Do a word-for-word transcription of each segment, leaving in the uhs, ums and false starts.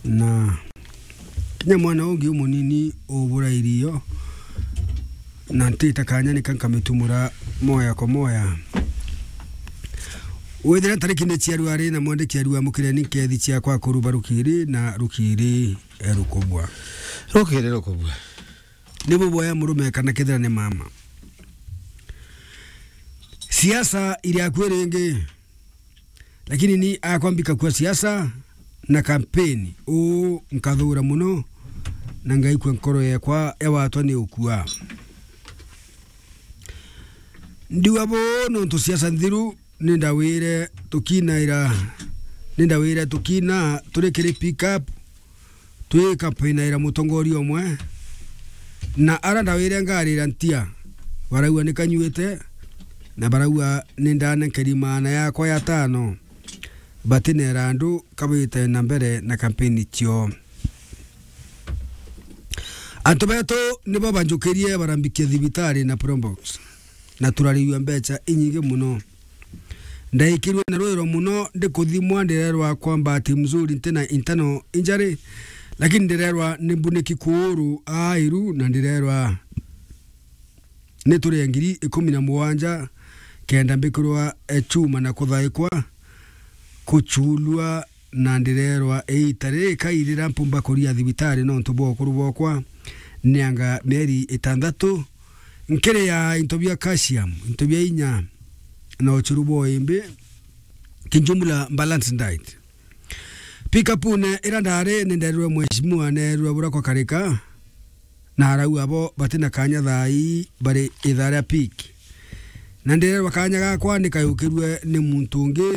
Na kinya mwana ungi umunini ubura irio, na ntita kanya nika nkamitumura moya kwa moya. Withira ntariki ni ciaru ari na mwandiki aru amukire ni nkethi ciakwa kuruba rukiri na rukiri, eh, rukubwa. Rukiri rukubwa. Ni buboya murume kana kethira ni mama. Siasa iri akwi ringi. Lakini ni akwa mbikakua siasa na kampeni, uu nkathura muno, na ngaikua nkoro yekwa yawatwa ni ukua. Ndiuga buu nontu siasa nthiru, ni ndawire tukinaira, ni ndawire tukina turi kiri pick up, twikampinaira mutongoria umwe, na ara ndawire ngarira ntia, baraua ni kanyuite, na baraua ni ndanenkeri maana yakwa ya tano, batinera andu kabite na mbere na kampeni cio. Antu betu nibo banjukirie barambikia thibitari na Probox, na turariua mbeca inyingi muno. Ndaikirwe na rwiro muno, ndikuthimwa, ndirerwa kwa bahati mzuri ntina internal injury, lakini ndirerwa ni mbuniki kuuru airu, na ndirerwa ni turie ngiri ikumi na mugwanja kenda mbikirwa, eh, chuma na kuthaikwa, kuchulwa, na ndirerwa iita riri kairira mpumba kuria thibitari nontu bwa ukuru bwakwa, ni anga mieri itantatu, nkiri ya into bia calcium, into bia inya, na uchuru bwa imbi, kijumla balanced diet. Pick up-une ira ndari ni nderwe mheshimiwa, nerwe bura kwa karika, na arau abo batina kanya thaa ii bari ithaa ria peak. Na ndirerwa kanya gakwa ni kayukirwe ni muntu ungi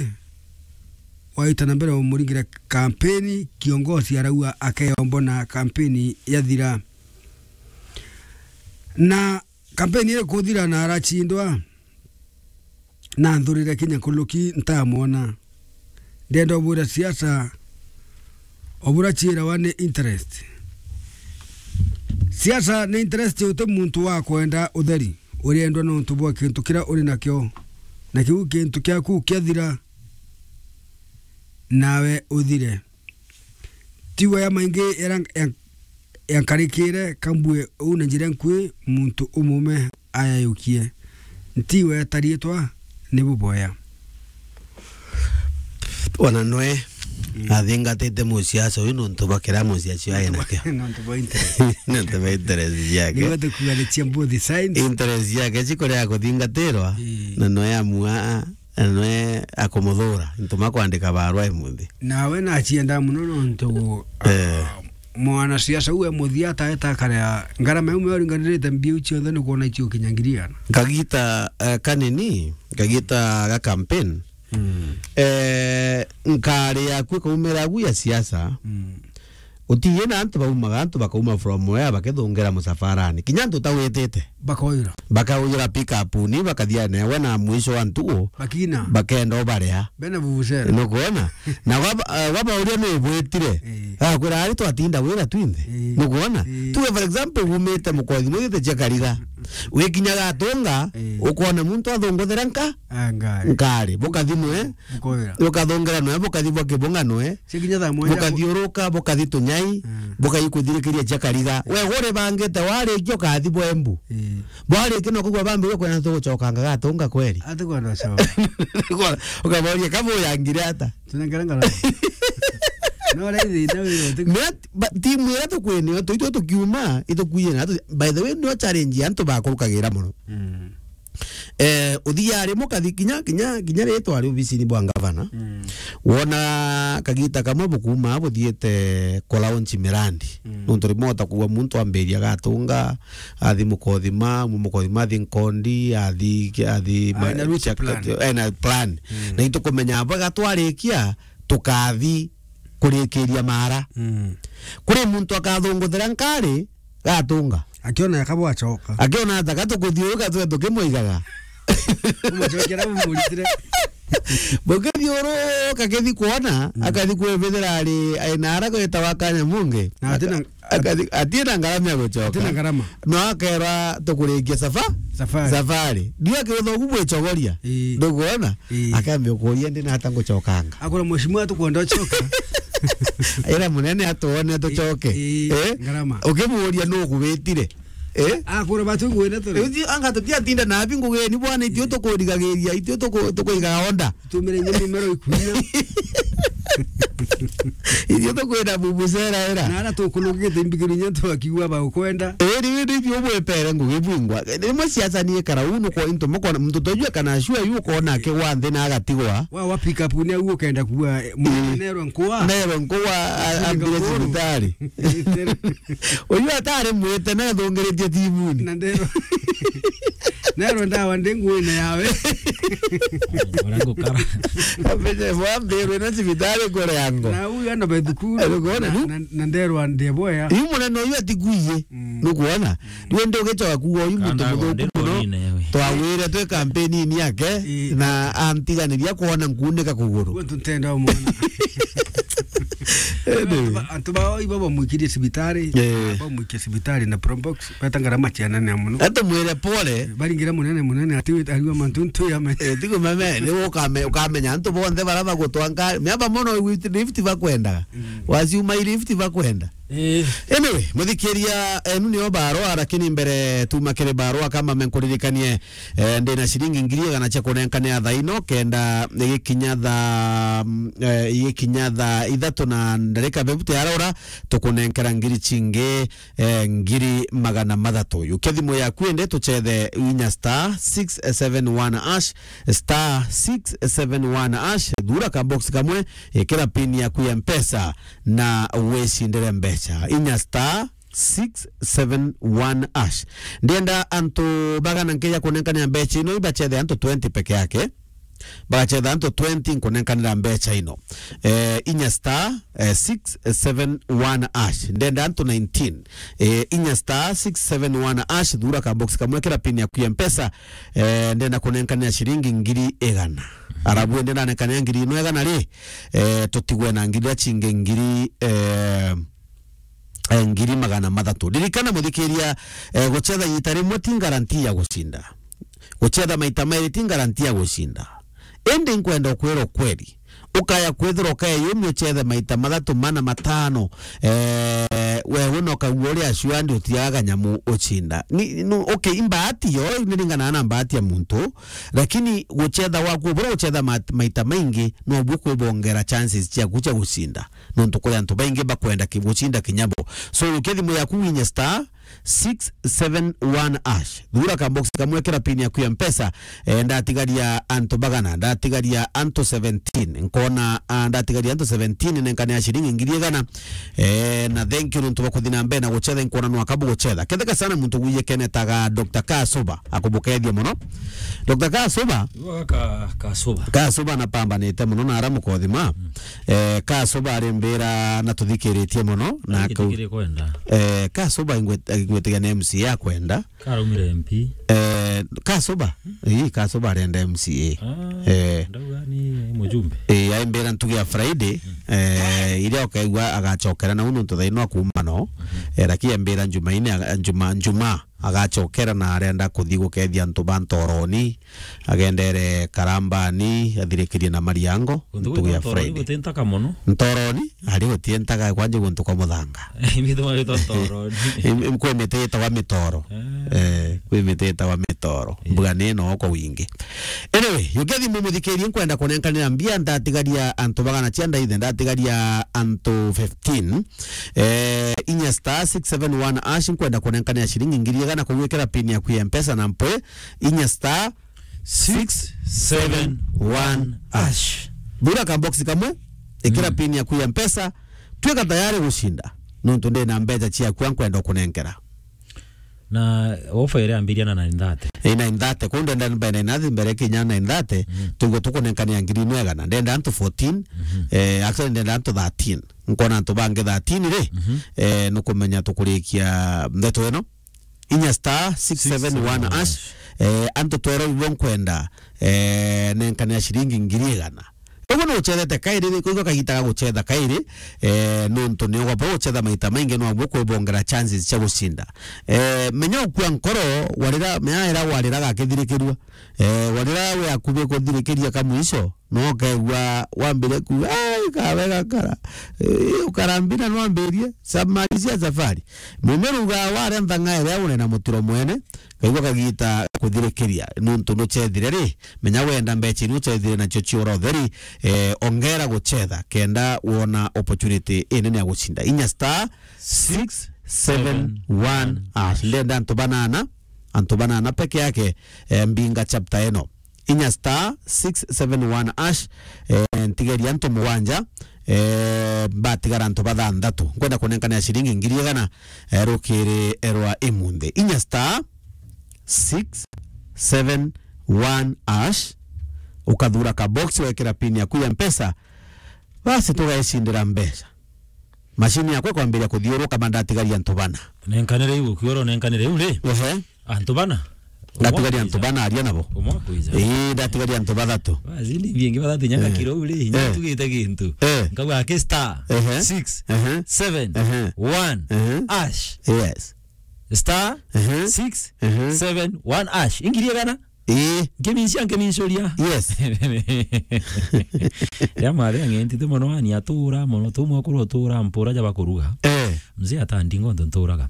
waita na mbere umuringire kampeni, kiongozi araua akeyombo na kampeni yathira. Na kampeni iri kuthira na arachindwa, na nthurire kinya nkuluki ntamwona. Ndenda ubwira siasa, obura ciirawa ni interest. Siasa ni interest, uti muntu wa kwenda utheri, uriendwa nontu bwa kintu kiria uri nakio, na kiu kintu kiaku kiathira, nawe uthire. Tiwe ya maingi era ya, ya nkarikire kambue uu na njira nkui muntu umume ayayukie. Ntiwe tarietwa ni buboya. Ona nwe, mm, athingatite musiasa uyu nontu bwa kiria musiasi ae nakio. Nontu bwa interest. Nontu bwa interest ciake. Niwe tukuganicia both sides. Interest ciake cikuria kuthingatirwa, ii, na nwe amua, na nwe akumuthura. Ntuma kwandika barua imunthi. Nawe nacienda muno nontu, eh, ah, mwanasiasa uwe muthia ataeta akaria ngarama iu uringanirite mbiu cionthe ni kwona icio kinya ngiri igana. Kagita, eh, kanini, kagita ga campaign. Mm. Eh, nkari yaku ikaumira agu ya siasa. Mm. Utiye na antu baumaga, antu bakauma from where bakithungira musafarani. Kinya antu utawitite. Bakoira. Bakaujira pick up ni bakathia newe na mwisho wa ntugu. Bakina. Bakenda ubaria. Bena vuvuzela. Nukwona? Na waba, eh, wabauria ni ubwitire. Eh. Akwira ari twatinda wira twinthe. Eh. Nukwona? Eh. Tuge for example, wumite mukothi mwite cia kariga. Wikinya gatunga, eh, ukona muntu athunguthira nka? Ah, ngari. Ngari. Bukathi nwe. Bukoira. Bukathungira nwe, bukathi bwa kibunga nwe. Cikinya thaa mwanja. Bukathiuruka, bukathi tunyai, mm, bukaikuthirikiria cia kariga. We uri bangite warikia ukathi bwembu. Ii. Bwarikia no kugwa bambire kwena tugucokanga gatunga kweri. Ati kwenda coka. Ukaboria kabu yangire ata? Tunengere ngara. No raithi na wira uti- Ni at-, ba-, timu iria tukwinio, tu itwe tukiuma, itukuire na tu-, by the way, no challenge ya antu bakurukagira muno. Mm. Eh, uthiaga rimwe ukathi kinya, kinya, kinya ritwa ari obisini bwa ngavana. Mm. Wona kagita kamwe bukuma buthiite ku launch mirandi. Mm. Nontu rimwe utakugua muntu ambiria gatunga, athi Mukothima, mu Mukothima athi Nkondi, athi, athi. Ai, ma-, na route chak-, plan. Ai, na plan. Mm. Na itukumenya bwega twarikia, tukathi kurikiria mara. Mm. Kuri muntu akathunguthira nkari, gatunga. Akiona yakabwa acoka. Akiona ata gatukuthiuruka twe tukimwigaga. Umucokera umuritire. Bukithiuruka kithi kuona, mm, akathi kwibithira ari, ari na ara gwitawa Kanyamunge. Na atina, aka-, akathi, atina ngarama ya gucoka. Atina ngarama. No akerwa tukurikia safa-, safari. Safari. Ndio akiuthogu bwicogoria. Ii. Ndukuona? Ii. Akambia kuria ndi na ata ngucokanga. Akora mheshimiwa tukwenda ucoka. Ira munene atuone tucoke. Ii, ii, eh? Ngarama. Ukimuuria nu ugwitire? Eh? Akura batu ngwine turi. Uti anga tutiatinda nabi ngugeni bwana, itio tukurigagiriria, itio tuku-, tukuigaga onda. Tumire nye mimero ikunya. Itio tukwenda bubucera era. Na ara tukunugite mbigiri nye twakiwa ba ukwenda. Eh, riu ni bio bwepere ngugi bwingwa. Rimwe siasa ni ikara uu nuko into mukona muntu tojua kana sure yu ukona akigwa nthi na agatigwa. Wa, wa pick up ni au ukenda kuwa, eh, mwana nerwa nkuwa. Nerwa nkuwa, a-, ambire cibitari. Uyu atari mwite na athungiritie timuni. Na nderwa. Nerwa ndawa ndi nguine yawe. Ora ngukara. Ambire bwa mbirwe na cibitari kuria ngo. Na uyu ana ba thukuru. Arugona, na, nu? Na, na nderwa ndi boya. Yu munene uyu atigwiye. Mm. Nukwona? Riu ndi ugicoka kuuga uyu muntu muthuku muno. Twawire twi kampeni-ini yake, ii, na antiganiria kwona nkuuneka kuguru. Gwe ntenda umwona. Anyway. Antu ba, antu bao ibo bamwikirie cibitari, eh, bamwikia cibitari na Probox, beta ngarama cianene muno. Atumwire pole. Baringira munene munene ati wita ariwa mantu ntu ya me. Eh, tigo mame, ni ukame-, ukamenya antu bonthe bara bagutwanga, miaba mono lift bakwendaga. Mm. Waciuma lift bakwenda. Eh. Anyway, muthikiria, enu nio barua, lakini mbere tuma kiri barua, kama menkuririkanie, eh, ndina ciringi ngiri igana cia kunenkanira thaa ino, kenda igikinya thaa, mm, eh, igikinya thaa ithatu na ndarika bebuti arora, tukunenkera ngiri cingi, eh, ngiri magana mathatu. Yukia thimu yaku ende tucethe inya star six seven one hash, star six seven one hash, thura ka box kamwe, ikira pin yaku ya Mpesa na wicindire mbeca. Inya star six seven one hash. Ndienda antu bagana nkeja kunenkanira mbeca ino, ibacethe antu twenty peke yake. Bagacetha antu twenty nkunenkanira mbeca ino. Eh, inya star, eh, six seven one hash. Ndenda antu nineteen. Eh, inya star six seven one hash, thura ka box kamwe, kira pin yaku ya Mpesa. Eh, ndenda kunenkanira ciringi ngiri igana. Arabu ndenda nenkanira ngiri ino igana ri, eh, tutigwe na ngiri iria cingi ngiri, eh, eh, ngiri magana mathatu. Ririkana muthikiria, eh, gucetha ita rimwe ti guarantee ya gucinda. Gucetha maita mairi ti guarantee ya gucinda. Indi nkwenda ukwira ukweli. Ukaya kwithirwa ukeyumia ucethe maita mathatu, mana, matano, eh, wewe na ukagua uria sure ndi utiaga kanyamu ucinda. Ni, nu-, okay, imbaati yo, niringanaga na mbaati ya muntu, lakini gucetha gwaku, bura gucetha mat-, maita maingi, nobu kwibongera chances ciaku cia gucinda. Nontu kuri antu baingi bakwenda ki-, gucinda kinya bo. So, yukia thimu yaku winye star six seven one hash. Thura ka box kamwe, kira pin yaku ya Mpesa. Eh, ndatigaria antu bagana, ndatigaria antu seventeen. Nkona, ah, ndatigaria antu seventeen, nenkane ya ciringi ngiri igana. Eh, na thank you nontu bwa kuthi na mbere na gucetha, nkona nwaka bugucetha. Ketheka sana muntu gwiyekene taga Doctor Kasuba, akubukethia muno. Doctor Kasuba. Iwe ka-, Kasuba. Kasuba napambanite muno na ara mukothima. Mm. Eh, Kasuba arimbira na tuthikiritie muno na akau-, eh, Kasuba ingwet-, ingwetiga ni M C A akwenda. Karaumire M P. Eh, Kasuba. Ii, Kasuba arenda M C A. Ah, eh, ndauga ni mujumbe. Eh, aimbira ntugi ya Friday, mm, eh, iria ukaigua agacokera na unu ntuthaino akuma no. Mhm. Eh, lakini aimbira Njumaine aga-, Njuma, Njuma agacokera na arenda kuthi gukethia antu ba Ntoroni, agendere Karambani, athirikirie na Mariango, ntugu ya Friday. Ntoroni guti ntaka muno. Ntoroni, ari guti ntaka kwanje guntu kwa muthanga. Imithe maritwa Ntoroni. Im-, im-, kwi miti itagwa mitoro. Ah. Eh, kwi miti itagwa mitoro. Yeah. Mbuga ni no kwa wingi. Anyway, yukia thimu muthikirie, nkwenda kunenkanira mbia, ndatigaria antu bagana cia ndaithe, ndatigaria antu fifteen. Eh, inya star six seven one hash, nkwenda kunenkanira ciringi ngiri igana kugwikira pin yaku ya Mpesa na mpwe, inya star six seven one hash. Thura ka box kamwe, ikira, mm, pin yaku ya Mpesa, twika tayari gucinda. Nontu ndina mbeca ciaku nkwenda kunenkera. Na ofa iria ambiria na nine thirty. Eh, nine thirty, kuu ndenda mbere nine thirty, mbere kinya nine thirty, mm, tugo tukunenkania ngiri imwe igana. Ndenda antu fourteen, mhm, eh, actually ndenda antu thirteen. Nkona antu bangi thirteen ri, mhm, eh, nukumenya tukurikia ndeto ino. Inya star six seven one hash, eh, antu twero ibo nkwenda, eh, nenkania ciringi ngiri igana. Uguo ni ucethete kairi, ri, kwigua kagita ga gucetha kairi, eh, nontu ni ugwamba gucetha maita maingi, no amwe kwibongera chances cia gucinda. Eh, menya ukua nkoro, warira, menya ira warira gakithirikirua. Eh, warira we akubi kuthirikiria kamwico, No ukaigua wambire kuuga, "Ai, kawe gakara. Eh, ukarambina nwambirie, sa-, malizia safari." Mumiruga warentha ng'ae ria unena mutiro mwene, kaigua kagita kuthirikiria, nuntu nuchethire ri, menya wenda mbecha iria uchethire nacio ciura utheri, eh, ongera guchetha, kenda wona opportunity inene ya gucinda. Inya star six seven one hash. Ndenda antu banana, antu banana peke yake, eh, mbinga chapter eno. Inya star six seven one hash, eh, ntigeria antu mugwanja, eh, batigara antu bathanthatu. Nkwenda kunenkana ya ciringi ngiri igana, eh, rukiri rwa imunthi. Inya star six seven one hash, ukathura ka box, wekira pin yaku ya Mpesa, basi tugaicindira mbeca. Machine yakwa ikwambiria kuthiuruka, ma ndatigaria antu bana. Nenkanire iu, ukiura unenkanire iu ri? Ehe. Antu bana? Ndatigaria antu bana aria nabo. Umwe akwiza. Ii, ndatigaria antu bathatu. Basi, ni bingi bathatu, nyaka Eh. kiro u ri, Eh. nyaka tugite gintu. Eh. Nkauga aki star Ehe. six Ehe. seven Ehe. one Ehe. hash. Yes. Star Ehe. six Ehe. seven one hash. Ingiri igana? Ii. Nkiminsia, nkimincuria. Yes. Ya mari ang'entite mono, ani atura mono, tu mwakuru atura mpura ja bakuruga. Eh. Mzee atandinga untu nturaga.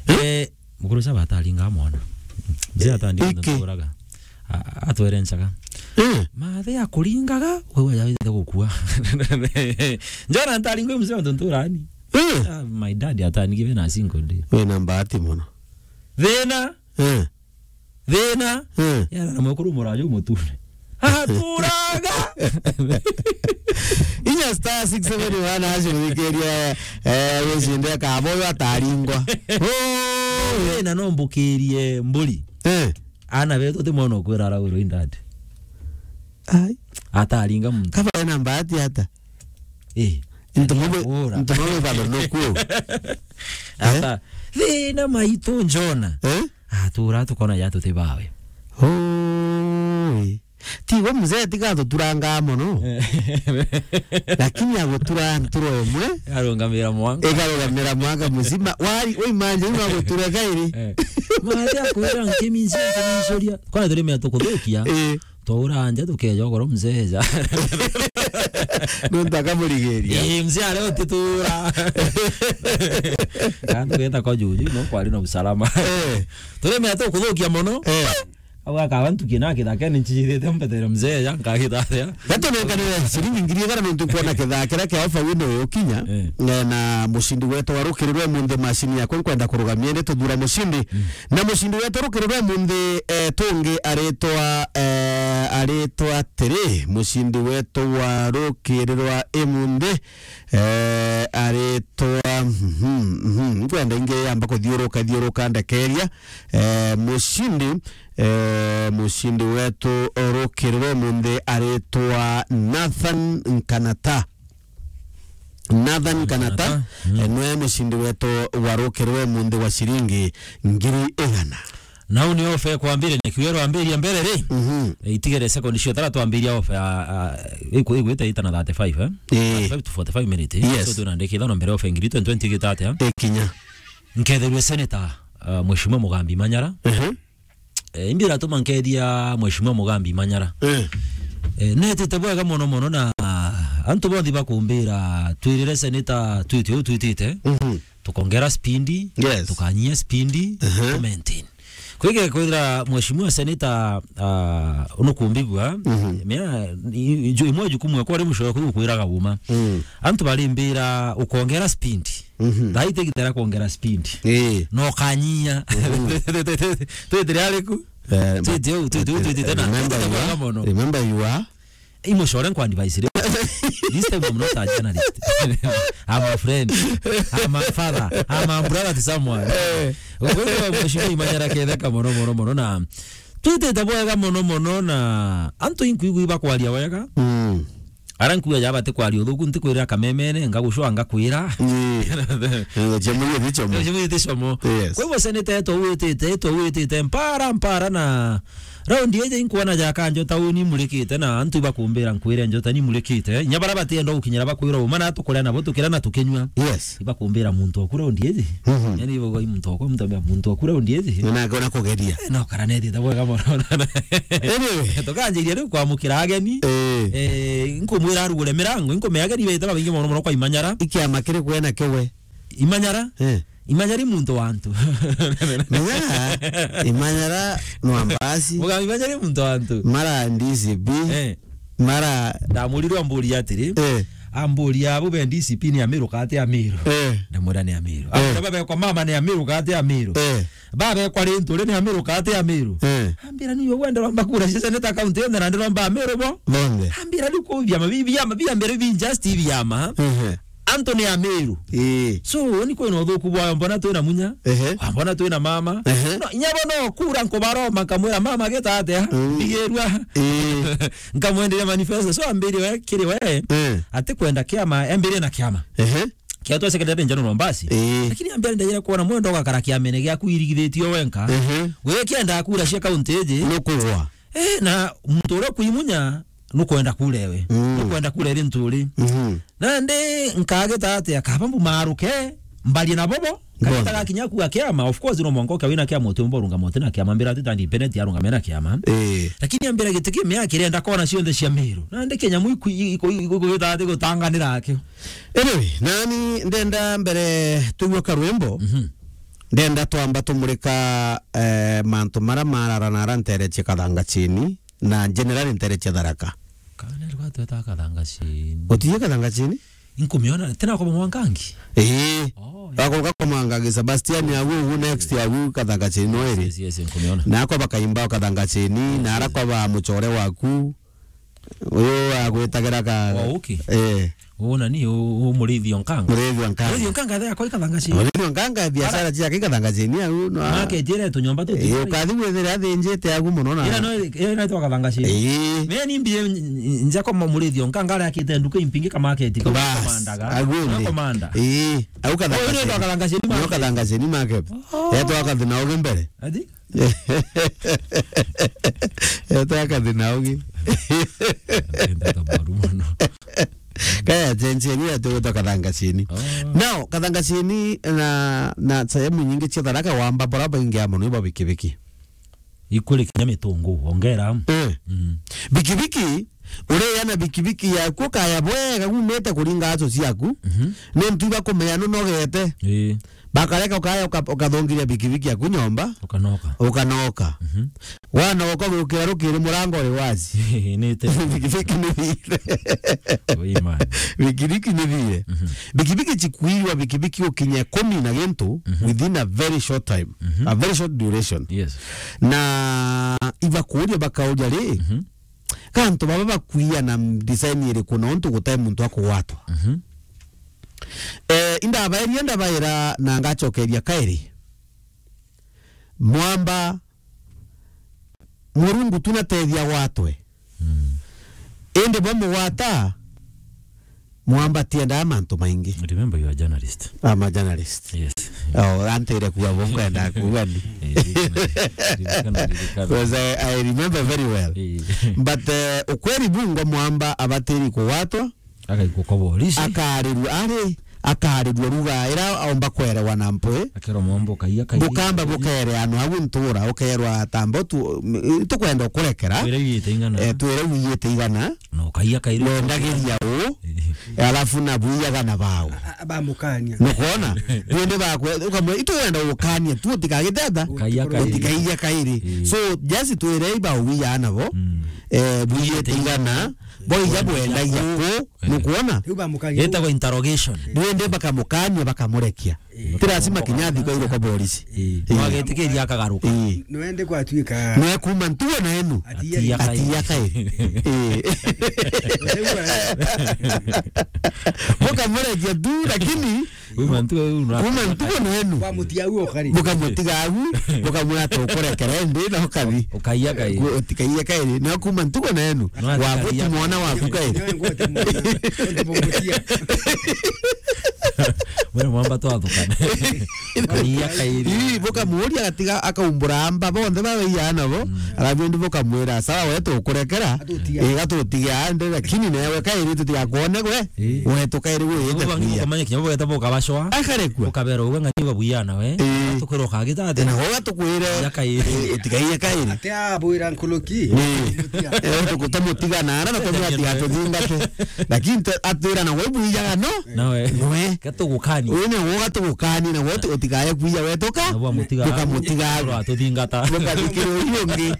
Eh? Eh, mukuru caba ataringa mwana. Mzee atandinga untu Iki. nturaga. A-, atwerencaga. Eh. Mathe akuringaga, wewe yawite gukua. Njona ntaringa mzee untu nturani. Eh. Ah, my dad atanigive na single day. Wina mbati mono. Thina. Eh. Thina. Eh. Yara na mwekuru muraju mutune. Aturaga. Inya star six seven one hash wikiria, eh, wicinde kabo yo ataringwa. Oh. Thina no mbukirie mburi. Eh. Ana betu ti mwana ukwira aragurwo indadi. Ai. Ataringa muntu. Kaba ena mbati ata? Eh. Ntumwe, Ura. ntumwe bado no kuo. Ata, thina maitu njona. Eh? Atura tukona ya tuti bawe. Oi. Ti we mzee tiga tuturanga mono. Eh. Lakini agutura nturo imwe. Arungamira mwaka. Ikarugamira mwaka muzima. Wari, we imagine wa gutura kairi. Eh. Mati akwira nkiminsi, nkiminsuria. Kwana turi mea tukuthukia. Eh. Twaura nja tukeja ugoro mzee ja. Nuntu akamurigiria. Ii, mzee aria utitura. Kana tugeta kwa juju, no kwari na usalama. Eh. Turimea tukuthukia mono. Eh. Au akaba ntukie na kithakene nchithite mbetere mzee ja, nkagitharia. Gatonenkanire ciringi ngiri igana nuntu nkwona kithakira kia ofa wino ukinya. Eh. Eh, na mucindi wetu wa rukiri rwa imunthi, macini yakwa nkwenda kurugamia ni tuthura mucindi. Mm. Na mucindi wetu rukiri rwa imunthi, eh, tungi aritwa, eh, aritwa atiri, mucindi wetu wa rukiri rwa imunthi, eh, aritwa, mhm, mhm, nkwenda ingi yamba kuthiuruka, thiuruka ndekeria, eh, mucindi, eh, mucindi wetu rukiri rwa imunthi aritwa Nathan Nkanata. Nathan Kanata, Kanata, mm, eh, nwe mucindi wetu wa rukiri rwa imunthi wa ciringi ngiri igana. Nau ni ofa kwambiria, ni kiugo rwambiria mbere ri? Mhm. Eh, itigere sekondi cio tara twambiria ofa ya, a, iku-, igwite ita na thirty-five, eh? Eh. Thirty-five to forty-five minutes. Yes. So, tuna ndikitha no mbere ofa ngiri twenty twenty gita atia? Ikinya. Nketherwe senator, uh, Mheshimiwa Mugambi Manyara. Mhm. Eh, imbi iratuma nkethia Mheshimiwa Mugambi Manyara. Eh. Eh, netite bwega mono mono na antu bonthe bakumbira twirire seneta twite uu twitite. Mhm. Tukongera speed, yes, tukanyia speed, mhm, tu maintain. Kwige kwithira Mheshimiwa seneta, ah, unukumbigua, mhm, mea, i-, i-, ju-, imwe jukumu yakwa ri mushoro kuu kwiraga uma. Mm. Antu barimbira ukongera speed. Mhm. Thaa iti gitera kwongera speed. Ii. No kanyia. Mhm. Twitire ariku? Eh, twitire u, twitire u, twitire tena. Remember you are, mono, remember you are. Imo shore nkwa advice ri. This time I'm not a journalist. I'm a friend. I'm a father. I'm a brother to someone. Eh. Kwa hivyo, Mheshimiwa Imanyara ketheka mono, mono, mono na twitite bwega mono, mono na antu inkuigua ibakwaria wega. Mm. Ara nkuuga ja bati kwaria uthuku, ntikwirira kamemene, ngagucwa ngakwira. Ii. Eh, cia mwiri ti chomo. Cia mwiri ti chomo. Yes. Kwa hivyo seneta yetu witite, yetu witite, mpara, mpara na, Raundi iji inkwona ja kanjo tauni imurikite na antu ibakumbira nkwire njota ni imurikite. Inya bara batienda gukinyira bakwira uma na tukuria nabo tukira na tukinyua. Yes. Ibakumbira muntu oku raundi iji. Mhm. Yani ibo muntu oku, muntu ambia muntu oku raundi iji. Na ngona kugeria. Eh, no, kara nethite bwega mono. Anyway. Tukanjiria riu kwamukira ageni. Eh. Eh, nkumwira arugure mirango, nkumea ageni bete babaingi mono mono kwa Imanyara. Ikiama kiri kwena kiwe. Imanyara? Eh. Imanyara i muntu wa antu. Menya, Imanyara no ambasi. Mugambi Imanyara i muntu wa antu. Mara D C P. Eh. Mara ndamurirwe amburia atiri. Eh. Amburia abo be D C P ni Amiru kati Amiru. Eh. Ndamwira ni Amiru. Eh. Ambira babekwa mama ni Amiru kati Amiru. Eh. Babekwa rintu ri ni Amiru kati Amiru. Eh. Ambira ni yo wenda romba kura cia Senate county yone na ndiromba Amiru bo. Bonde. Ambira ni ku biama bi-, biama, biama bi just biama. Eh. Antu ni Amiru. Ii. So, ni kwina uthuku bwayo, mbona twina munya? Ehe. Mbona twina mama? Ehe. No, inya bo no kura nkubaroma, nkamwira, "Mama, gita atia?" Mm. Mbigirua. Ii. Nkamwenderia manifesto. So, ambiri we, kiri we, eh, ati kwenda kiama, ambiri na kiama. Ehe. Kia twa secretary general Mombasa. Ii. Lakini ambiri ndagira kuona mwendo ugakara kiamene giaku irigithitio wenka. Ehe. We kienda kura cia county iji. Nukugwa. Eh, na muntu uria kuimunya, nukwenda kura ewe. Mm. Nukwenda kura iri ntu uri. Mhm. Nandi nkagita atia, kaba mbumaruke, mbarie na bobo, kagita gakinya ku ga kiama, of course, no mwanka ukia wina kiama, utiumba urungama uti na kiama, mbira ati ta independent arungame na kiama. Eh. Lakini ambira giti kimea kirenda kona cionthe cia Miru. Nandi kinyamu iku-, iku-, iku-, iku-, gita ati gutanganira akio. Anyway, nani ndenda mbere tuigue karwimbo. Mhm. Ndenda twamba tumurika, eh, mantu mara marara na ara ntere cia Kathanga Chini. Na general ntere cia Tharaka. Kana rwa tweta Kathanga Chini. Utiye Kathanga Chini? Inkumiona, tena kwa Mwangangi? Ii. Oh, yeah. Bakoruka kwa Mwangangi, Sebastian agu, ugu next agu Kathanga Chini no iri. Yes, yes, yes, inkumiona. Na kwa bakaimba Kathanga Chini, na ara kwa ba muchore waku. Uyu agwitagira ka. Wa uki? Eh. Uyu nani, u-, u Muriithi o Nkanga. Muriithi o Nkanga. Muriithi o Nkanga, athea kwa Kathanga Chini. Muriithi o Nkanga, biashara ciake Kathanga Chini, au no. Market ira tunyomba tuti. Eh, ukathi gwithira athinjite agu muno na. Ira no, ira no twa Kathanga Chini. Eh. Me ni mbie nja kwa Muriithi o Nkanga, aria akite nduka impingi ka market, ka bas, komandaga. Agu ni. Komanda. Eh, au Kathanga Chini. Uyu ni twa Kathanga Chini market. Kathanga Chini market. Oh. Etwa Kathina ugi mbere. Ati? Etwa Kathina ugi. Enda ta mwaru mono. Kaya jenjeri ya tuweta Kathanga Chini. Oh. Now, Kathanga Chini na, na sehemu nyingi cia Tharaka wamba bora baingi ya mono iba bikibiki. Ikuri kinya mitungu, ongera. Eh. Mm. Bikibiki, ureya na bikibiki yaku ukaya bwega, umite kuringa aco ciaku. Mhm. Ni ntu iba kumenya nunogete. Ii. Bakareka ukaya uka-, ukathongiria bikibiki yaku nyomba. Ukanoka. Ukanoka. Mhm. Wanoka gukira rukiri murango uri wazi. Ni te. Bikibiki ni thire. Ui man. Bikibiki ni thire. Mhm. Bikibiki chikuirwa bikibiki ukinye kumi na gintu, mhm, within a very short time. Mhm. A very short duration. Yes. Na ibakuria bakauria ri, mhm, kantu baba bakuia na design iriku na untu gutai muntu akugwatwa? Mhm. Eh, indabaeria ndabaira na ngacokeria kairi. Mwamba, Murungu tu natethia gwatwe. Mm. Indi bamugwata, Mwamba tiendaa mantu maingi. Remember, you are a journalist. I'm a journalist. Yes. Oh, antire kuga bo nkwenda kuga ni. Eh, ririkana, ririkana, ririkana. Because I, I remember very well. Eh. But, eh, ukweri bungwa Mwamba abatiri kugwatwa. Agaikwa kwa borisi. Akarirua, ari, akarirua ruga ira aomba kwerewa na mpwi. Akerwa Mwamba ukaiya kairi. Bukamba bukereanwa au ntura, ukerwa tamba tu, m-, tukwenda ukurekera. Twire wiyite igana. Eh, twire wiyite igana. Na ukaiya kairi. Wendagiria u, eh, alafu na buiyaga na bau. A-, a-, bamukania. Nukwona? Twende bakwe, ukamwe, itwenda ukania, tu utikagiteta. Ukaiya kairi. Utikaiya kairi. Eh. So, just twire ibau wiya nabo. Mm. Eh, bwiyite igana, boija bwendagia ku, eh, nukwona? Riu bamukania. Yetagwa interrogation. Ndio ende bakamukania, bakamurekia. Eh. Ti lazima kinya athi kwa iro kwa borisi. Eh. Eh. Mwagetikiria akagaruka. Eh. Nwende kwatuika. Nwe kuma ntuo na enu. Atiya kai. Atiya kai. Eh. Mukamurekia tu, lakini Kuma ntuo uu na kuma ntuo na enu. Kwa mutia uu ukari. Bukamutiga au, bukamwira tukurekera indi na ukathi. Ukaiya kairi. Ku-, utikaiye kairi. Na kuma ntuo na enu. No, wa atikaiya gutu mwana kairi. Waku kairi. Nyo ngwete mwana. Ngwete mutia. Wewe mwamba twathukana. Karia kairi. Ii, bukamuuria agatiga akaumbura amba bonthe babaiyana bo. Alafu indi bukamwira, "Sawa, we tukurekera." Atutia. Ii, gatutiga ande, lakini newe kairi tutigakwone gwe. Ii. We tukairi gwite kuiya. Ukamanya kinya bweta bukabacwa. Akarekua. Ukabera uwe ng'ani babuiyana we. Ii. Tukiro kagita ati. Na uga tukwire. Ya kairi. Ii, itigaia kairi. Ati abwira nkuruki. Ii. Eh, tukutamutiga na ara na tumwati atuthingate. Lakini tu-, atwira na we buiyaga no. Nawe. Noe. Gatugukani. Uyu ni uga tugukani na we tu-, utigaye kuiya we tuka. Na bwa mutiga. Tukamutiga. Oro atuthingata. Tukathikira uyu ungi.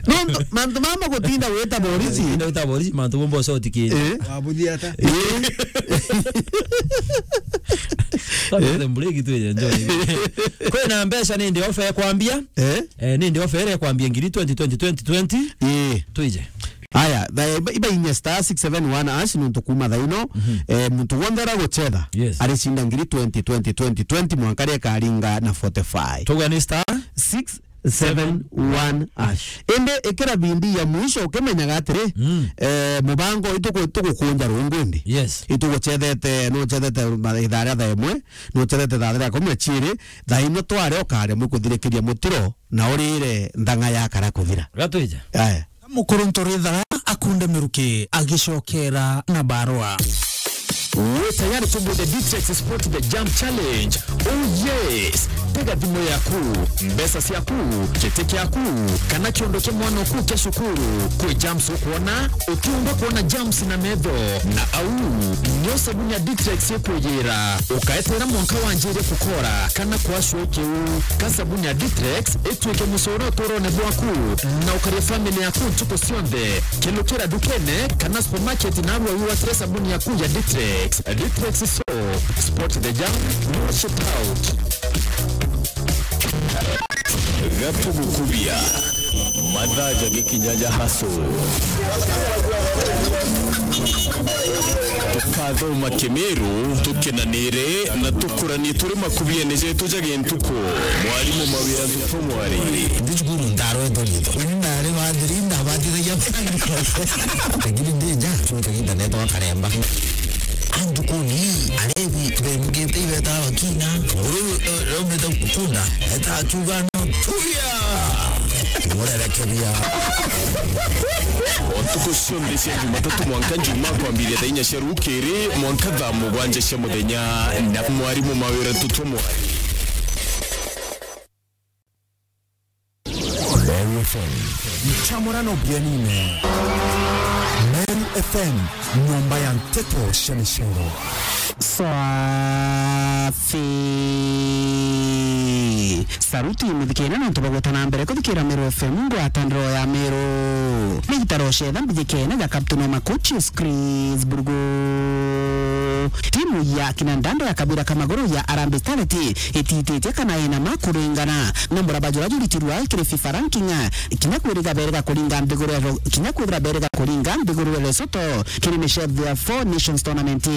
Nontu mantu mama gutinda wita borisi. Gutinda wita borisi, mantu bombo so tikiri. Eh? Wabuthia ata? Eh? Sasa the break tu ya enjoy. Kwina mbeca ni ndi ofa ya kwambia. Eh? Eh, ni ndi ofa ya kwambia ngiri twenty, twenty, twenty, twenty. Eh. Twije. Aya, tha-, iba, iba inya star six seven one hash nuntu kuma thaino. Mhm. Eh, muntu wonthe ara guchetha. Yes. Aricinda ngiri twenty, twenty, twenty, twenty, mwanka ria karinga na forty-five. Tuga ni star? Six seven one hash. Indi ikira bindi ya mwisho ukimenyaga atiri, mm, eh, mubango ituku-, itugukunja rungu indi. Yes. Ituguchethete, nuchethete ma-, ithaa ria thaa imwe, nuchethete thaa ria kumi na chiiri, thaa ino tware ukaremwe kuthirikiria mutiro na urire nthang'a yakara kuthira. Gatwija. Aya. Mukuru Ntoritha akunde miruki agicokera na barua. Wi tayari kubwithe Ditrex Sport the Jump Challenge? Oh yes! Tega thimu yaku, mbeca ciaku, giti kiaku, kana kiondo kia mwana oku kia cukuru. Kwi jumps ukwona, utiumba kwona jumps na metho, na au nio sabuni ya Ditrex ikwiyira. Ukaeterera mwanka wanjirie kukora kana kwacua ikiu, ka sabuni ya Ditrex itwike mucoro uturone bwaku, na ukaria family yaku ntuku cionthe. Kilukira ndukene kana supermarket narua wiwatire sabuni yaku ya Ditrex. Ditrex soap, spot the jam, wash it out. Gatugukubia. Mathaa jagikinya ja hustle. Tukathoma Kimiru, tukenanire na tukuranie turi makubiene jetu ja gintuku. Mwarimu Mawira Ntutu Mwari. Ndi cukuru ndarwetwo riitwa. Uni ndari wa thiri, ndabatithagia. Lakini ndi nja, cuu kaginda netwa karemba. Antukuni, arebi, bemugite ibeta bakina. Nguru, eh, raumite kunda, eta akiuga, "No, turia!" Murerekeria. O ntuku cionthe cia Jumatatu mwanka Njumaa kwambiria thaa inya cia rukiri mwanka thaa mugwanja cia muthenya na mwarimu Mawira Ntutu Mwari. Meru F M. Nchamurano bienine. Meru F M, nyomba ya nteto cia micero. Swafi. Saruti muthikire nontu bagweta na mbere kuthikira Meru F M, ngwataniro ya Meru. Ni gitaro cetha mbijikene ja Captain Oma Coaches Chris Burgo. Timu ya kina Ndando ya kabira ka maguru ya Harambee Starlet itititie kana ina ma kuringana na muraba jura juritirwa kiri FIFA ranking, kinya kwirira berega kuringa nthiguru ya Ro-, kinya kwirira berega kuringa nthiguru ya Lesotho kiri micetho ya Four Nations Tournament.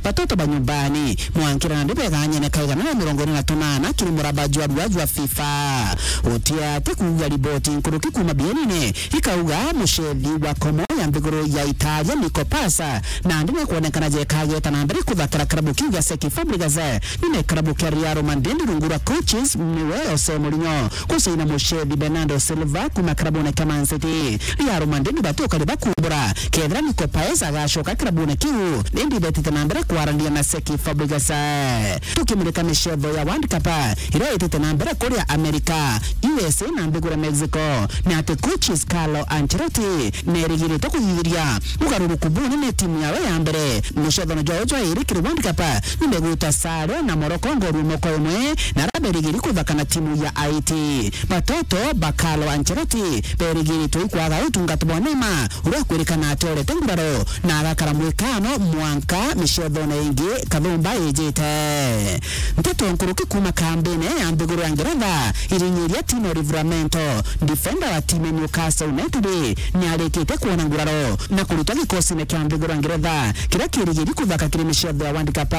Batoto ba nyumbani mwankira na ndibeganyene kaigana na mirongo ina na tunana kiri muraba jwa rua jwa FIFA. Utia ati kuuga riboti nkuruki kuma bienine ikauga mucethi wa komo ya nthiguru ya Italia Nico Pasa nandi nekwonekana jekageta na mbere kuthakira kirabu kiu gia Cesc Fabregas nine kirabu kia Real Madrid rungu rwa coaches niwe Jose Mourinho. Kusaina mucethi Bernardo Silva kuma kirabune kia Man City. Real Madrid bati ukari bakumbura kethira Nico Pasa agacoka kirabune kiu, indi betite na mbere kwaraniria na Cesc Fabregas. Tukimurika micetho ya World Cup iria itite na mbere kuria America, U S A na nthiguru ya Mexico, ni ati coaches Carlo Ancelotti nerigirite kuthithiria ugaruruku bunene timu yawe ya mbere. Mucethano jwao jwa iri kiri World Cup nimegwita sare na Morocco ngori moko imwe, na ara berigiri kuthaka na timu ya Haiti. Batoto ba Carlo Ancelotti berigiritwe ikwaga utungata bwa Neymar, uria akwirikana ati orete nguraro na agakara mwikano mwanka micethone ingi kathumba ijite. Nteto nkuruki kuma kambine ya nthiguru ya Ngeretha irinyiria Tino Livramento, defender wa timu ya Newcastle United, niarikite kwona nguraro na kurutwa gikosine kia nthiguru ya Ngeretha kiria kirigiri kuthaka kiri micetho ya World Cup.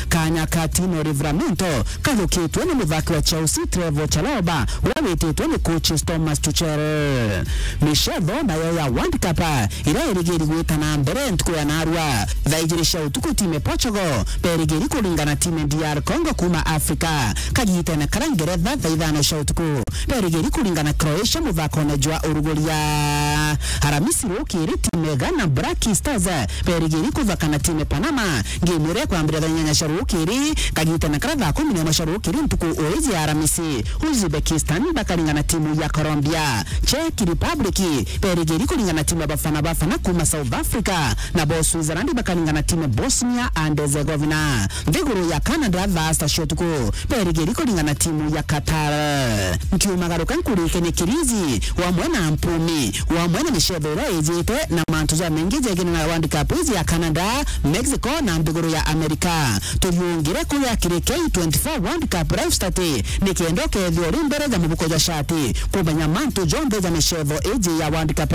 Kanya ka Tino Livramento kathukitwe ni muthaki wa Chelsea Trevoh Chalobah, uria wititwe ni coaches Thomas Tuchel. Micetho nayo ya World Cup iria irigiri gwita na mbere ntuku ya narua thaa ijiri cia utuku, timu ya Portugal berigiri kuringana timu ya D R Congo kuma Africa. Kagitene karia Ngeretha thaa ithano cia utuku berigiri kuringana Croatia muthakone jwa uruguria. Aramisi rukiri timu ya Ghana Black Stars berigiri kuthaka na timu ya Panama. Ngemu iria ikwambiriria thaa inyanya cia rukiri, kagitene karia thaa kumi na imwe cia rukiri ntuku uiji ya Aramisi, Uzbekistan bakaringana timu ya Colombia. Czech Republic berigiri kuringana timu ya Bafana Bafana kuma South Africa, nabo Switzerland bakaringana timu ya Bosnia and Herzegovina. Nthiguru ya Canada thaa sita cia utuku berigiri kuringana timu ya Qatar. Nkiumagaruka nkurike ni kirizi wamwe na mpumi, wamwe na micetho iria ijite na mantu jamaingi jegene na World Cup iji ya Canada, Mexico na nthiguru ya America. Turiungire kuria kiri K twenty-four World Cup live stat, nikenda ukethia uri mbere ja mubuko jwa shati kumenya mantu jonthe ja micetho iji ya World Cup.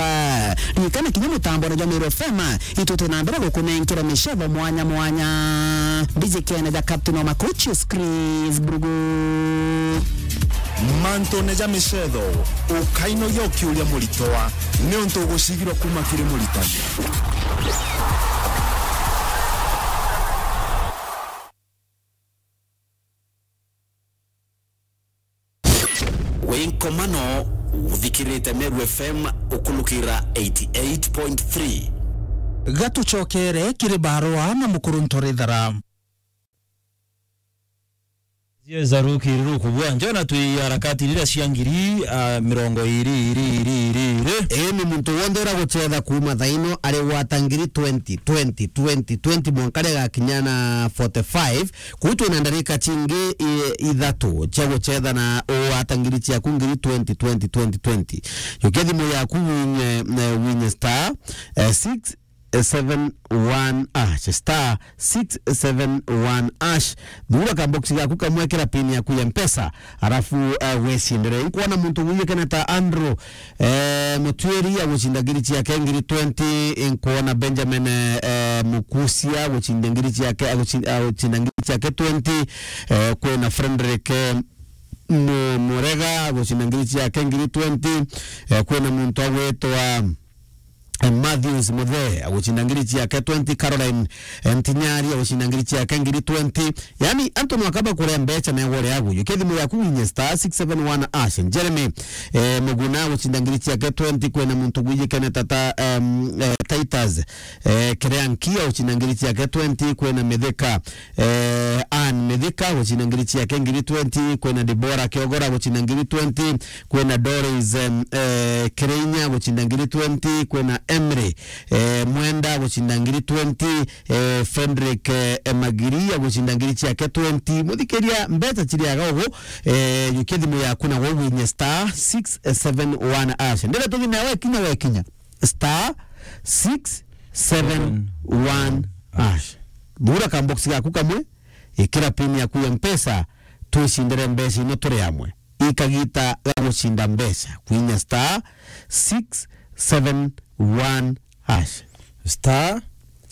Ririkana kinya mutambone jwa Meru F M, itute na mbere gukunenkera micetho mwanya mwanya. Mbijikene ja Captain wa Makuchus, Chris Brugu. Mantune ja micetho, ukainogia ukiuria muritwa, niuntu ugucigirwa kuma kiri muritani. Wi nkomano, uthikirite Meru F M ukulukira eighty-eight point three. Gatucokere kiri barua na mukuru Ntorethara. Zieza rukiri rukubua njona twi harakati rira cia ngiri, ah, mirongo iri, iri, iri, iri, iri. Ii ni muntu wonthe ura gucetha kuuma thaino ari gwata ngiri twenty, twenty, twenty, twenty mwanka ria gakinya na forty-five. Kuu twina ndarika cingi i-, ithatu cia gucetha na ugwata ngiri ciaku ngiri twenty, twenty, twenty, twenty. Jukia thimu yaku winye, eh, winye star, eh, six seven one hash, star six seven one hash. Thura ka box gaku kamwe, kira pin yaku ya Mpesa, arafu, eh, wecindire. Nkwona muntu wiyukene ta Andrew, eh, Mutwiri agucinda ngiri ciake ngiri twenty. Nkwona Benjamin, eh, Mukusia agucinda ngiri ciake, agucin-, agucinda ngiri ciake twenty. Eh, kwina Frederick, eh, Mu-, Murega agucinda ngiri ciake ngiri twenty. Eh, kwina muntu agwitwa eh, Matthews Muthee agucinda ngiri ciake twenty, Caroline, eh, Ntinyari agucinda ngiri ciake ngiri twenty. Yani, antu nwakaba kuria mbeca na igore agu. Jukia thimu yaku winye star six seven one hash. Jeremy, eh, Muguna agucinda ngiri ciake twenty, kwina muntu gwijikene tata, em, eh, Titus, eh, Kereanki agucinda ngiri ciake twenty, kwina Mithika, eh, Ann Mithika gucinda ngiri ciake ngiri twenty, kwina Deborah Kiogora gucinda ngiri twenty, kwina Doris, em, eh, Kireinya gucinda ngiri twenty, kwina Emily, eh, Mwenda gucinda ngiri twenty, eh, Frederick, eh, Magiri agucinda ngiri ciake twenty. Muthikiria, mbeca ciriaga ugu, eh, jukia thimu yaku na gwinye star six seven one hash. Ndire tuthine wekinya, wekinya star six seven one hash. Thura ka box gaku kamwe, ikira pin yaku ya Mpesa, twicindire mbeca ino turi amwe. Ikagita ga gucinda mbeca, kwinya star six seven one hash. Star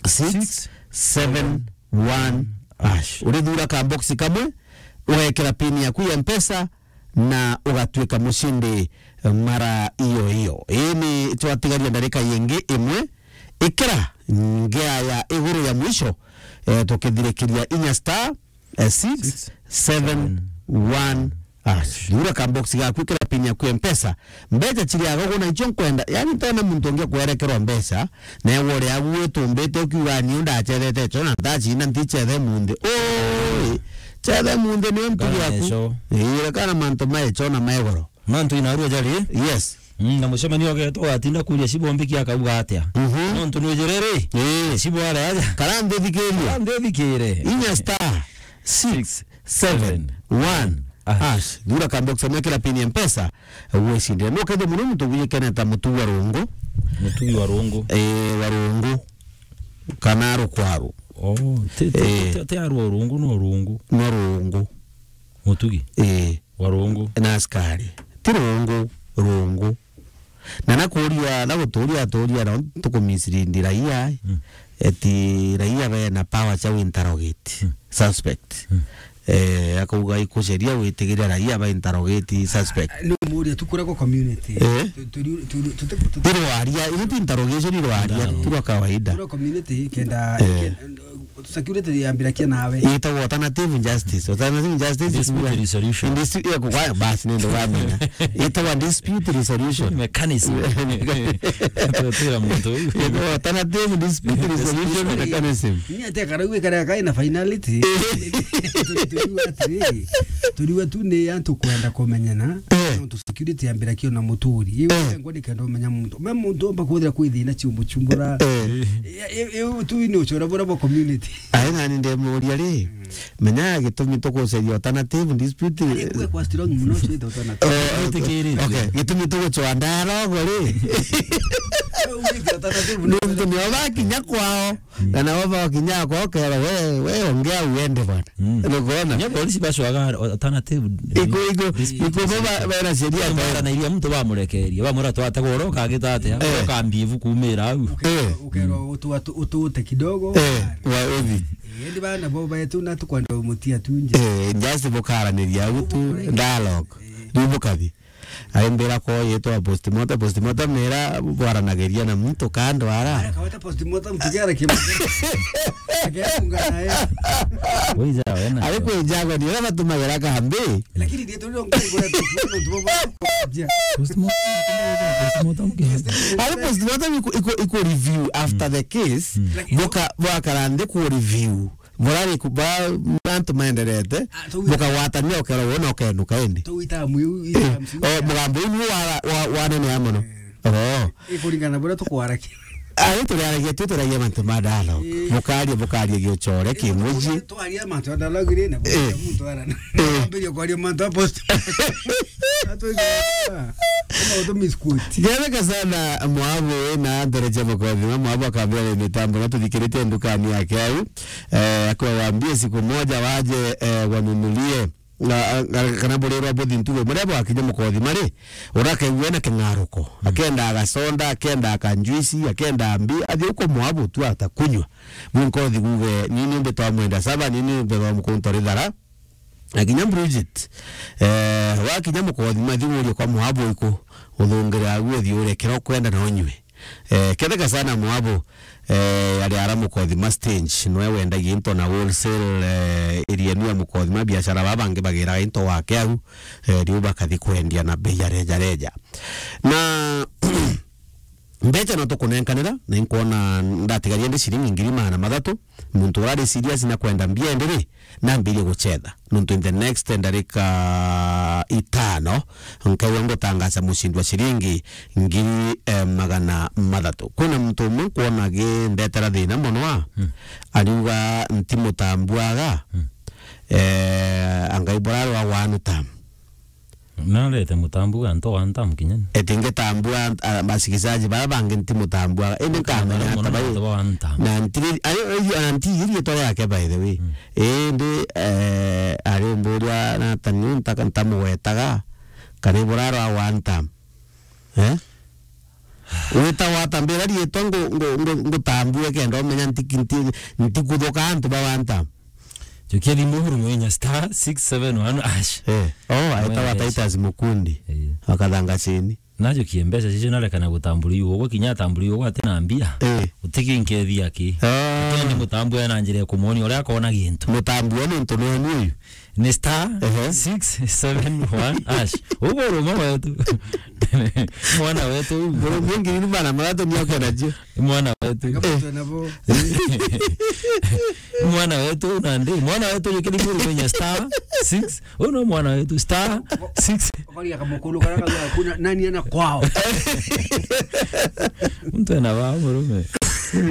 six seven one hash. Urithura ka box kamwe, ugekira pin yaku ya Mpesa, na ugatwika mucindi mara iyo iyo. Ii ni twatigaria ndarika yingi imwe. Ikira ngea ya iguru ya mwisho, eh, tukithirikiria inya star, eh, six seven one hash. Thura ka box gaku, ikira pin yaku ya Mpesa. Mbeca ciriaga ugu na icio nkwenda. Yani, ntona muntu ungi kwerekerwa mbeca, na ewe uria agu witumbite ukiuga, "Niu ndacethete ico na ndacina nticethe munthi." Oi, cethe munthi niyo ntugi yaku. Ii, kana mantu ma ico na ma igoro. Mantu inarua jari? Yes. Mm, na mucemanio ugetwa ugatinda kuria Cibo mbiki akauga atia? Mhm. Nontu nujire ri? Ii. Cibo are aja. Kara nthi thikiria. Kara nthi thikire. Inya star six seven one hash. Thura ka box, mwekera pin ya Mpesa, gwicindira. No kethe muno muntu gwikene ta mutugi wa rungu. Mutugi wa rungu. Eh, wa rungu. Kana rukwaru. Oh, ti, ti, eh, ti, ti arwa rungu, no rungu. No rungu. Mutugi? Eh. Wa rungu. Na askari. Ti rungu, rungu. Na nakuria, na guturia, turia, na tukumisiri ndira iya. Mm. eti raia bena power cia interrogate suspect. Eh, akauga ikuceria gwitigiria raia ba interrogate suspect. Ni umuria tu kuria kwa community. Eh? Tu-, turi-, turi-, tuti-, tuti- Irwaria, ino ti interrogation irwaria, tu rwa kawaida. Kuria community kenda, eh, kenda, security yambirakia nawe. Itagwo alternative justice. Alternative justice is dispute resolution. Dispute, ya kugwa, basi ndio wamenya. Itagwo dispute resolution mechanism. Tutira muntu uyu. Itagwo alternative dispute resolution mechanism. Ni ate karau ikare kai na finality. Turiwa atiri, turiwa tu ni antu kwenda kumenyana. Eh. Nontu security yambirakia na muturi. Iwe, eh, ngwa ni kenda umenya muntu. Me muntu omba kwithira kwi thina cia umuchumbura. Eh. Iu tu ni uchora bura bwa community. Ai, nani ndemuria ri, menya gitumi tuguceria alternative dispute. Ari kwe kwa strong muno, cwite alternative. Eh, okay. Gitumi tugucwa dialogue ri. Ugite alternative muno. Nontu nio bakinya kwao. Kana bo bakinya kwao, kera we, we ongea uende bwana. Nukwona? Nya polisi bacwaga alternative. Iko, iko, iko bo ba-, bena sheria. Bara na iria muntu bamurekeria. Bamwira twate goro kagita atia. Eh. Ukambia ibu kumira au. Eh. Ukero utu-, utu-, utute kidogo. Eh, wa uthi. Eh, ndi bana bo betu na tukwenda umutia tu nje. Eh, just bukaraniria au tu dialogue. Eh. Riu bukathi. Aimbira ko yetwa postmortem, postmortem nira bwaranagiria na muntu kando ara. Ara kaweta postmortem tugera kimu. Agera ungana ya. Wija wena. Ari kwijago ni ura batumagira kambi. Lakini ndio tulio ngoi kwa tu. Postmortem, postmortem ke. Ari postmortem iko, iko, iko review after the case. Boka, bwakara ndi ku review. Burari ku-, ba-, antu maenderete, ah, tau-, bukagwatania ukero wona ukenuka indi. Tau itamu iu, eh, itamu iu. Oh, mugambo uu wa, wa, wa nene ya mono. Eh. Oh. Ikuringana na buria tukwarakia. Ah, turiaragia tu, turagia mantu ma dialogue. Eh. Bukaria, bukaria giuchore, kimuji. Twaria mantu ya dialogue ri, na, eh, muntu arana. Eh. Ambiria kwaria mantu a post. Atwigua. Kama utumisquote. Ketheka sana mwabu na ndereje mukothima, mwabu akambira ni mitambo na tuthikiritie ndukani yake au. Eh, akiwa waambie siku moja waje, eh, wanunulie, na, na, kana burirwa buthi ntugo, muria bwakinya mukothima ri, urakaigua na king'aruko. Mm. Akenda agasonda, akenda akanjuisi, akenda mbi, athi uko mwabu tu atakunywa. Munkothi guge, nini mbe twamwenda saba, nini mbe twamukunta rithara. Na kinya Bridget, eh, wakinya mukothima, thi urie kwa mwabu iku, uthungire agu uthi urie kira ukwenda na unywe. Eh, ketheka sana mwabu, eh, ari ara mukothima stage, nwe wendagia into na wholesale, eh, area enu ya mukothima, biashara baba bangi bagiraga into wake au, eh, riu bakathi kwendia na bei ya reja reja. Na mbecha no tukunenkanira, na inkwona ndatigaria ndi ciringi ngiri magana mathatu, muntu urari serious na kwenda mbia indi ri, nambirie guchetha. Nontu in the next ndarika itano, nkaigua ngutangaza mucindi wa ciringi ngiri, eh, magana mathatu. Kwina muntu umwe nkwona agindetera thina mono a, mm, ariuga ntimutambuaga, mm, eh, angai burarwa one term. Narete mutambuaga antu one term kinya ni. Eti ngitambua, ah, basikizaji bara bangi ntimutambua. Indi nkamenya ata bai. Na ntiri, ayo, ayo, na ntiri ritwa riake, by the way. Mm. Indi, eh, ari mburia na tani ntaka ntamugwetaga, kana burarwa one term. Eh? Wita watambira ritwa ngu-, ngu-, ngu-, ngutambue kenda umenya nti-, nti-, ntikuthuka antu ba one term. Jukia thimu huru mwinya star six seven one hash. Eh. Oh, aetawa Titus Mukundi. Eh. Akathanga chini. Najukie mbeca cicio narekana gutambura iu. Ugwe kinya atambura iu, ugwe ati na mbia. Eh. Utikinkeethia ki. Ah. Kendi mutambue na njira ya kumwonia uria akona gintu. Mutambue nontu ni enu uyu. Ni star, ehe, six seven one hash. Ugo uruma wetu. Mwana wetu. Ngiri ni bana maratumia kwenda jio. Mwana wetu. Ngapatwa nabo. Mwana wetu nandi. Mwana wetu yukiri kuru menya star six. Uno mwana wetu star six. Bali akamukulu kana kuna nani ana kwao. Mtu ana wa murume.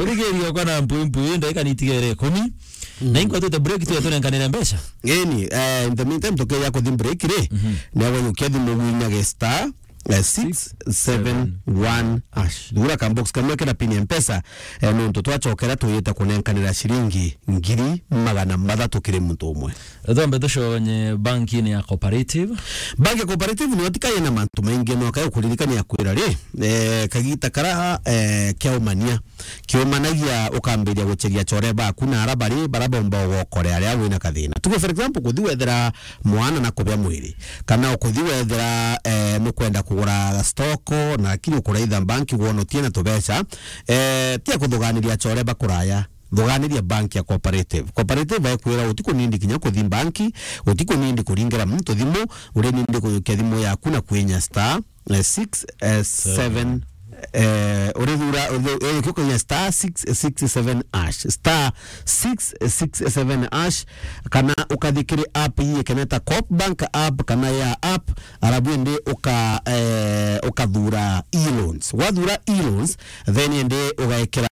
Urigeri okana mpui mpui ndagika nitigere ikumi. Mm. Na inkwa tute break tu tunenkanire mbeca. Eni, eh, in the meantime, tukeja kuthi break ri, mhm, na wewe ukethi mugwinyage star eh, six seven one hash. Thura ka box kamwe kena pin ya Mpesa, eh, nontu twachokera tuyite kunenkanira ciringi ngiri magana mathatu kiri muntu umwe. Twambe tuconye banki-ini ya Cooperative. Banki ya Cooperative niyo tikaye na mantu maingi, no kayo kuririkania kwira ri, eh, kagita kara, eh, kiaumania. Kiumanagia ukambiria gucheria chore baku na ara bari bara bomba ugokorea aria wina kathina. Tuge for example, kuthi wethera mwana na kubia mwiri, kana ukuthi wethera, eh, nukwenda kugura stock, na lakini ukuraitha banki wonotie na tubeca, eh, tia kuthuganiria chore bakuraya. Thuganiria bank ya Cooperative. Cooperative ekwira utikunindi kinya kuthi banki, utikunindi kuringira muntu thimu, urinindi kuyukia thimu yaku na kwinya star, eh, six, eh, seven, eh, urithura, uthi-, eh, ukinya star six six seven hash, star six six seven hash, kana ukathi kiri app ii ikeneta Coop Bank app kana ya app, arabu indi uka-, eh, ukathura e-loans. Wathura e-loans, then indi ugaikira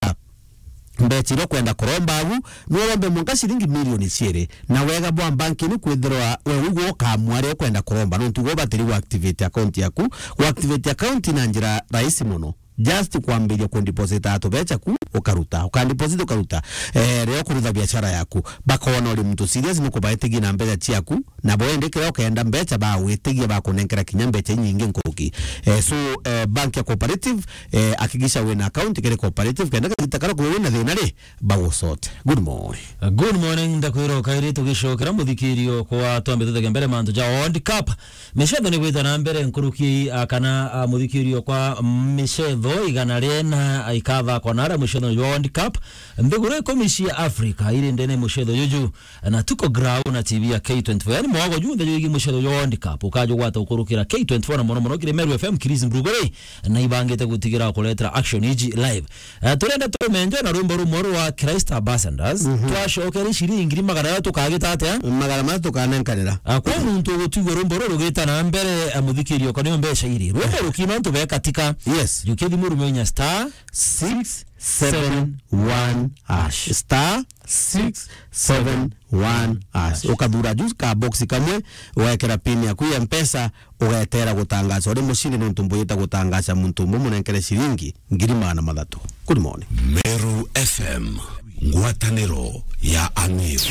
mbecha iria ukwenda kuromba agu, no urombe mwanka ciringi milioni ciiri. Na wega bwa banki ni kwithirwa we ugwe ukamua aria ukwenda kuromba, nontu ugwe ubatiri gu activate account yaku. Gu activate account na njira rahisi mono. Just kwambiria ku deposit atu becha ku ukaruta, uka deposit ukaruta. Eh, riria ukurutha biashara yaku, bakona uri muntu serious, nukubaitigia na mbecha ciaku, na bo indi kiria ukenda mbecha bagwitigia, bakunenkera kinya mbecha inyingi nkuruki. Eh, so, eh, bank ya Cooperative, eh, hakikisha wina account kiri Cooperative, kenda kagita karia kuwe wina thina ri, bagusote. Good morning. Good morning, ndakwira ukairi tugicokera muthikirio kwa twambe tuthege mbere mantu ja World Cup. Micetho ni gwita na mbere nkuruki, ah, kana, ah, muthikirio kwa micetho igana rina, ah, ikathakwa na aria mucetho jwa World Cup. Nthiguru ikumi cia Africa iri ndene mucetho juju. Na tuko ground na T V ya K twenty-four. Yani mwago junthe jwigi mucetho jwa World Cup ukajugwata ukurukira K twenty-four, na mono mono kiri Meru F M, Chris Mbrugore, na ibangite gutigira kuletera action iji live. Eh, turenda tumenje na rwimbo rumwe rwa Christ Ambassadors. Mhm. Twacokeri ciringi ngiri magana jathatu tukagita atia? Magana mathatu tukanenkanira. Ah, kwa muntu ugutigua rwimbo ruru rugita na mbere, eh, muthikirio, kana mbeca iri. Rwimbo rukina antu bekatika. Yes. Jukia thimu rume inya star six seven one hash. Star six seven one hash. Ukathura juu ka box kamwe, wekera pin yaku ya Mpesa, ugetera gutangaca uri mucindi, nontu mbuyite gutangaca muntu umwe munenkere ciringi ngiri magana mathatu. Good morning. Meru F M, ngwataniro ya Amiru.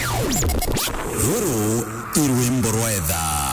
Ruru i rwimbo rwa etha.